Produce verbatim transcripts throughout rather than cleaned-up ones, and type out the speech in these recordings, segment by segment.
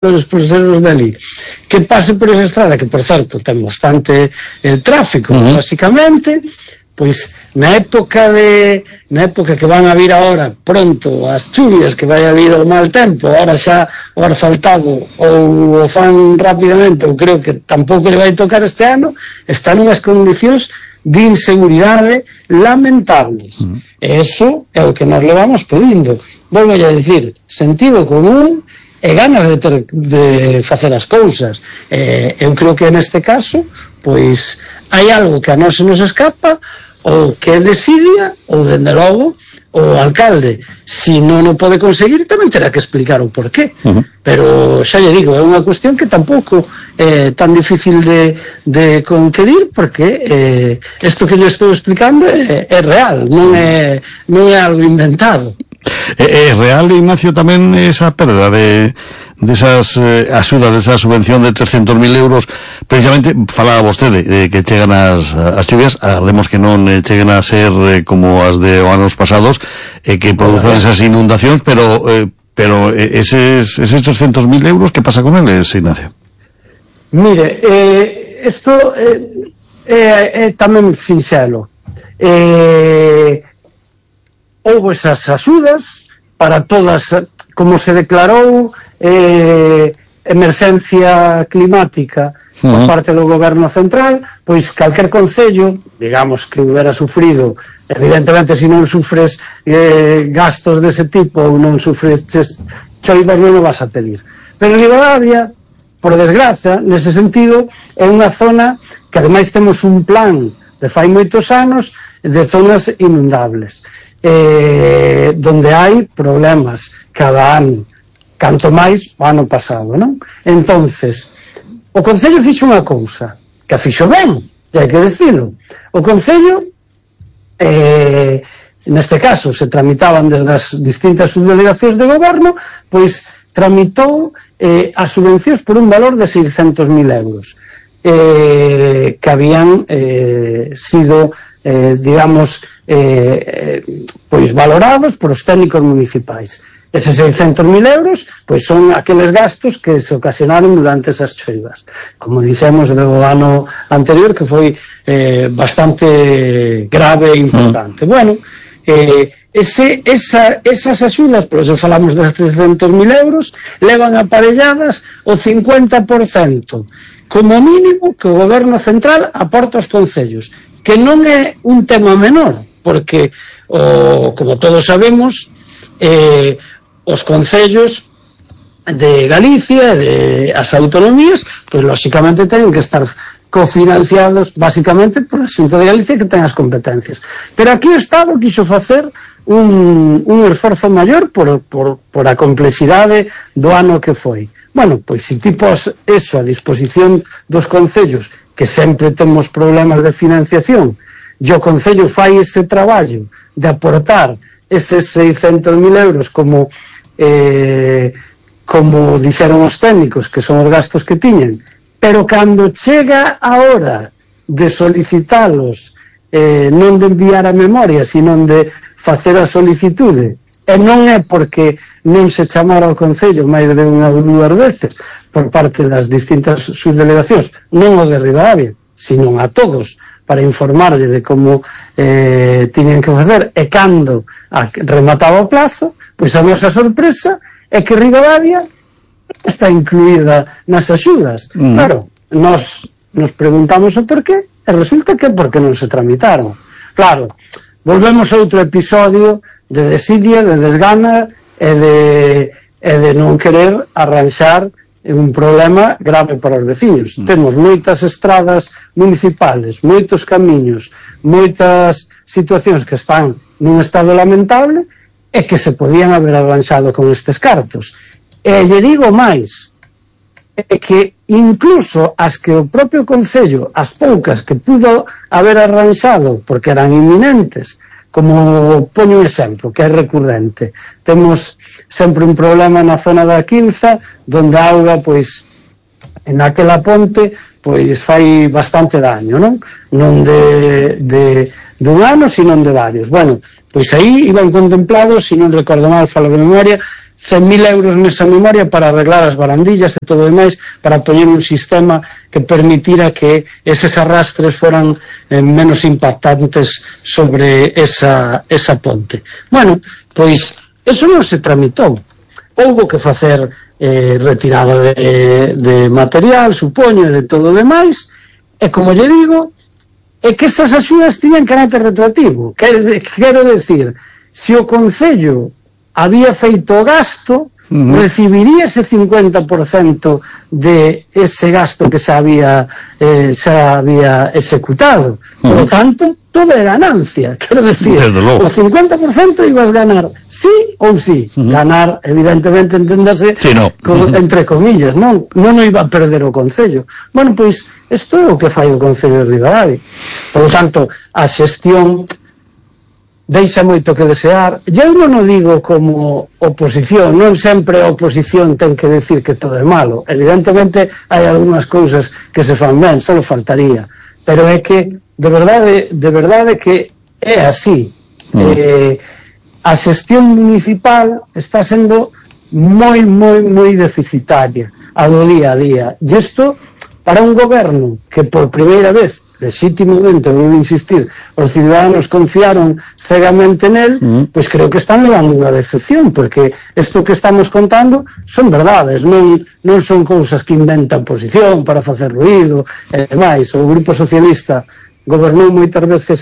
por seres dali, que pase por esa estrada, que por certo ten bastante eh, tráfico, uh-huh. basicamente, pois na época de na época que van a vir agora pronto as chuvias, que vai a vir o mal tempo, agora xa o asfaltado ou o fan rapidamente, ou creo que tampouco le vai tocar este ano, están unhas condicións de inseguridade lamentables. Uh-huh. E iso é o que nos levamos pedindo. Volvo a dicir, sentido común e ganas de ter de facer as cousas. Eh, eu creo que neste caso, pois, hai algo que a nós se nos escapa, ou que é desidia, ou, dende logo, o alcalde, se non o pode conseguir, tamén terá que explicar o porqué. Uh-huh. Pero, xa lle digo, é unha cuestión que tampouco é tan difícil de, de conquerir, porque eh, isto que lle estou explicando é, é real, non é, non é algo inventado. É, é real, Ignacio, tamén esa perda de desas de eh, axudas, desa subvención de trescentos mil euros, precisamente falaba vostede de que chegan as, as chuvias, agardemos que non eh, cheguen a ser eh, como as de anos pasados, e eh, que produzan esas inundacións, pero eh, pero eh, eses, eses trescentos mil euros, que pasa con eles, Ignacio? Mire, eh, isto eh, é eh, eh, tamén sinxelo. Eh... houve esas axudas para todas, como se declarou eh, emerxencia climática por parte do goberno central, pois calquer concello, digamos que hubiera sufrido, evidentemente se non sufres eh, gastos dese tipo ou non sufres choivas non o vas a pedir, pero Ribadavia, por desgraza, nese sentido é unha zona que ademais temos un plan de fai moitos anos de zonas inundables, Eh, donde hai problemas cada ano, canto máis o ano pasado, non? Entonces, o Concello fixo unha cousa, que a fixo ben, e hai que decirlo. O Concello, eh, neste caso, se tramitaban desde as distintas subdelegacións de goberno, pois tramitou eh, as subvencións por un valor de seiscentos mil euros, eh, que habían eh, sido, eh, digamos, Eh, pois valorados por os técnicos municipais. Eses seiscentos mil euros pois son aqueles gastos que se ocasionaron durante esas choivas, como dixemos do ano anterior, que foi eh, bastante grave e importante. Mm. Bueno, eh, ese, esa, esas axudas, por eso falamos das trescentos mil euros, levan aparelladas o cincuenta por cento como mínimo que o goberno central aporta aos concellos, que non é un tema menor, porque, o, como todos sabemos, eh, os concellos de Galicia, de as autonomías, pois lóxicamente teñen que estar cofinanciados basicamente por a Xunta de Galicia, que ten as competencias. Pero aquí o Estado quixo facer un, un esforzo maior por, por, por a complexidade do ano que foi. Bueno, pois se ti pos eso a disposición dos concellos, que sempre temos problemas de financiación, e o Concello fai ese traballo de aportar eses seiscentos mil euros como eh, como dixeron os técnicos, que son os gastos que tiñen, pero cando chega a hora de solicitalos, eh, non de enviar a memoria, sino de facer a solicitude, e non é porque non se chamara ao Concello máis de unha ou dúas veces por parte das distintas subdelegacións, non o de Ribadavia, sino a todos, para informarlle de como eh, tiñen que facer, e cando a, remataba o plazo, pois a nosa sorpresa é que Ribadavia está incluída nas axudas. Mm. Claro, nos, nos preguntamos o porqué, e resulta que é porque non se tramitaron. Claro, volvemos a outro episodio de desidia, de desgana e de, e de non querer arranxar un problema grave para os veciños. Mm. Temos moitas estradas municipales, moitos camiños, moitas situacións que están nun estado lamentable e que se podían haber arranxado con estes cartos. E lle digo máis, é que incluso as que o propio Concello, as poucas que pudo haber arranxado porque eran inminentes, como poño un exemplo que é recurrente, temos sempre un problema na zona da Quinza, donde a auga, pois, en aquela ponte, pois fai bastante daño, non? Non de, de, de un ano, sino de varios. Bueno, pois aí iban contemplados, se non recordo mal, falo de memoria, cen mil euros nesa memoria para arreglar as barandillas e todo o demais, para poñer un sistema que permitira que eses arrastres foran eh, menos impactantes sobre esa, esa ponte. Bueno, pois eso non se tramitou. Houbo que facer eh, retirada de, de material, supoño, e de todo o demais, e como lle digo, é que esas axudas tiñan carácter retroactivo. Quero, quero decir, se o Concello había feito o gasto, uh-huh, recibiría ese cincuenta por cento de ese gasto que se había, eh, se había executado. Uh-huh. Por lo tanto, todo é ganancia. Quero decir, o cincuenta por cento ibas ganar sí ou sí. Uh-huh. Ganar, evidentemente, enténdase, sí, no. con, uh-huh, entre comillas, non non o iba a perder o Concello. Bueno, pois, isto é o que fai o Concello de Ribadavia. Por lo tanto, a xestión deixa moito que desear. Eu non o digo como oposición, non sempre a oposición ten que decir que todo é malo. Evidentemente hai algunhas cousas que se fan ben, só faltaría, pero é que de verdade, de verdade que é así. Mm. Eh, a xestión municipal está sendo moi, moi, moi deficitaria a do día a día. E isto, para un goberno que por primeira vez, legítimamente, vou insistir, os ciudadanos confiaron cegamente nel, mm. pois creo que están levando unha decepción, porque isto que estamos contando son verdades, non, non son cousas que inventa a oposición para facer ruído e demais. O Grupo Socialista gobernou moitas veces,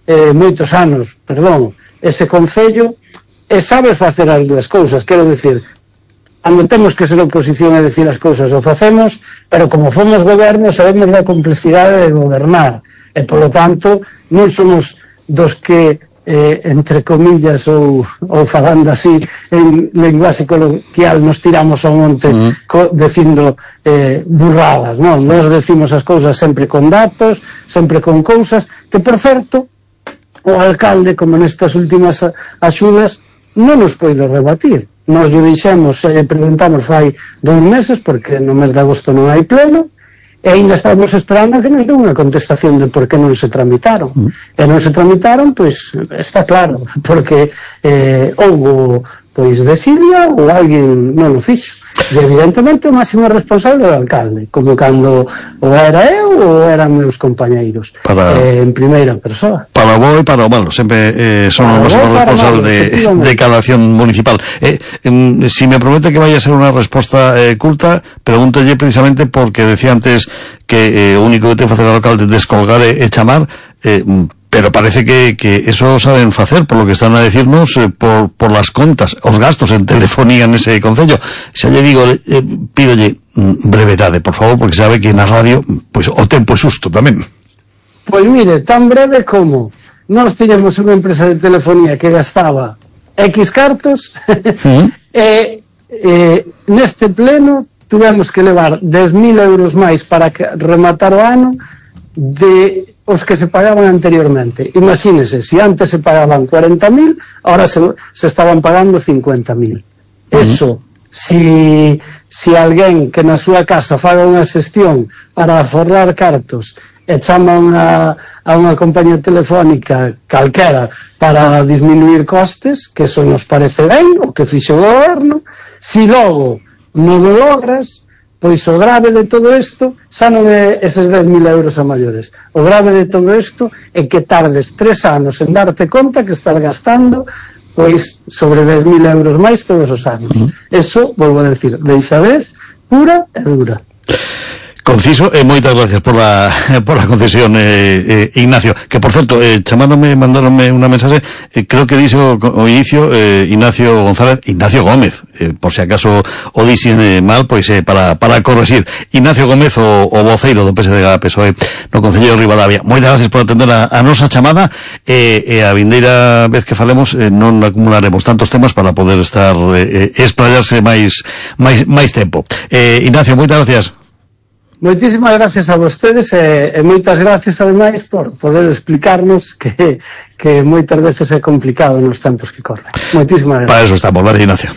eh, moitos anos, perdón, ese Concello, e sabe facer as dúas cousas. Quero decir, cando temos que ser oposición e decir as cousas o facemos, pero como fomos goberno sabemos da complexidade de gobernar, e polo tanto non somos dos que eh, entre comillas ou, ou falando así en lenguaxe coloquial nos tiramos ao monte mm. co, dicindo eh, burradas, non? Nos decimos as cousas sempre con datos, sempre con cousas que, por certo, o alcalde, como nestas últimas axudas, non nos poido rebatir. Nos lle dixemos, e preguntamos fai dous meses, porque no mes de agosto non hai pleno, e ainda estamos esperando a que nos dé unha contestación de por que non se tramitaron. Mm. E non se tramitaron, pois, está claro, porque eh, houbo, pois, desidia ou alguén non o fixo. E evidentemente o máximo responsable é o alcalde, como cando o era eu ou eran meus compañeiros, para, eh, en primeira persoa. Para o bo e para o malo, sempre eh, son os máximos responsables de, de cada acción municipal. Eh, eh, si me promete que vaya a ser unha resposta eh, culta, pregúntolle precisamente porque decía antes que eh, o único que ten que facer o alcalde é descolgar e, e chamar, eh, pero parece que, que eso saben facer, por lo que están a decirnos, eh, por, por las contas, os gastos en telefonía nese concello. Xa lle digo, eh, pídolle brevedade, por favor, porque sabe que na radio, pois, o tempo é susto tamén. Pois mire, tan breve como nós tiñamos unha empresa de telefonía que gastaba X cartos, ¿Mm? e eh, neste pleno tuvemos que levar dez mil euros máis para que, rematar o ano de os que se pagaban anteriormente. Imagínese, se antes se pagaban cuarenta mil, ahora se, se estaban pagando cincuenta mil. Uh-huh. Eso, si, si alguén que na súa casa faga unha xestión para aforrar cartos e chama unha, a unha compañía telefónica calquera para disminuir costes, que eso nos parece ben, o que fixo o goberno, si logo non o logras, pois o grave de todo isto xa non é eses dez mil euros a maiores. O grave de todo isto é que tardes tres anos en darte conta que estás gastando pois sobre dez mil euros máis todos os anos. Uh-huh. Eso, volvo a decir, deixadez pura e dura. Conciso, e eh, moitas gracias por la, por la concesión, eh, eh, Ignacio, que por certo, eh, chamáronme, mandaronme unha mensaje, eh, creo que dixo o inicio, eh, Ignacio González, Ignacio Gómez, eh, por si acaso o dixen eh, mal, pois eh, para, para corregir, Ignacio Gómez, o, o voceiro do P S D G P S O E no Concello de Ribadavia. Moitas gracias por atender a, a nosa chamada, e eh, eh, a vindeira vez que falemos, eh, non acumularemos tantos temas para poder estar, eh, eh, esplayarse máis, máis, máis tempo. Eh, Ignacio, moitas gracias. Moitísimas gracias a vostedes e, e moitas gracias ademais por poder explicarnos que, que moitas veces é complicado nos tempos que corren. Moitísimas gracias. Para eso estamos, gracias, Ignacio.